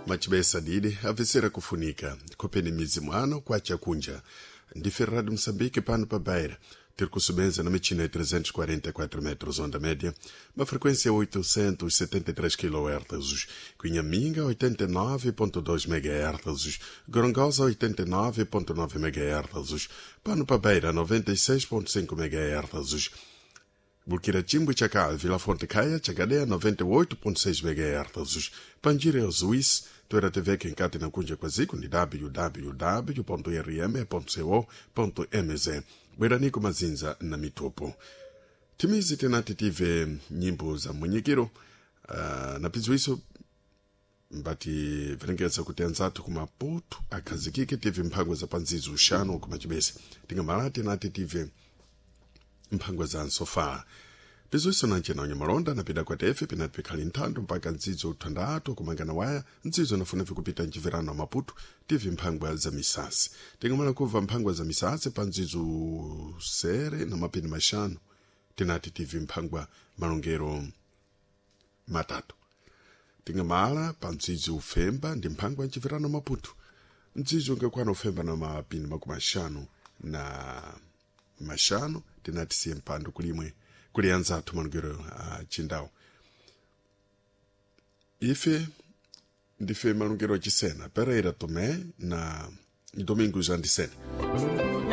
Machibesa didi avisera kufunika kopeni mizi mwano kwa chakunja ndife Rádio Moçambique pano pa Beira ter kusubeza na michina ya 344 metros onda média, uma frequência 873 kHz, Cunhaminga 89.2 MHz, Gorongosa 89.9 MHz, Pano pa Beira 96.5 MHz, Burkina Chakal, Vila Fonte Caia, Chagadeia 98.6 MHz, Panjira Suíça, Tuera TV que encate na Cunha Quasico, ni www.rm.co.mz. Bweranico Mazinza na Mitopo. Timizi tenati tive nyimbo za mwenyekero na piziwiso mbati verengeza kuti anzathu kumaputu akhazikike tive mphango za panzizo uxanu kumachibese tingamala tenati tive mphango za nsofala piziwiso nancena unyamalonda napida kwa tefe pinati pikhali nthando mpaka ndzidzo uthandatu kumangana waya ndzidzo nafuna vikupita mchiverano wa maputu tive mphangwa za misasi tingamala kubva mphangwa za misasi pa ndzidzo sere na mapini maxanu tinati tive mphangwa malongero matatu tingamala pa mdzidzo ufemba ndi mphangwa mchiverano maputu mdzidzo ungakwana ufemba na mapini makumi axanu na maxanu tinati siye mpando kulimwe kuli anzathu malongero a chindawu ife ndife malongero achisena Pereira Tomé na Domingos Andisene.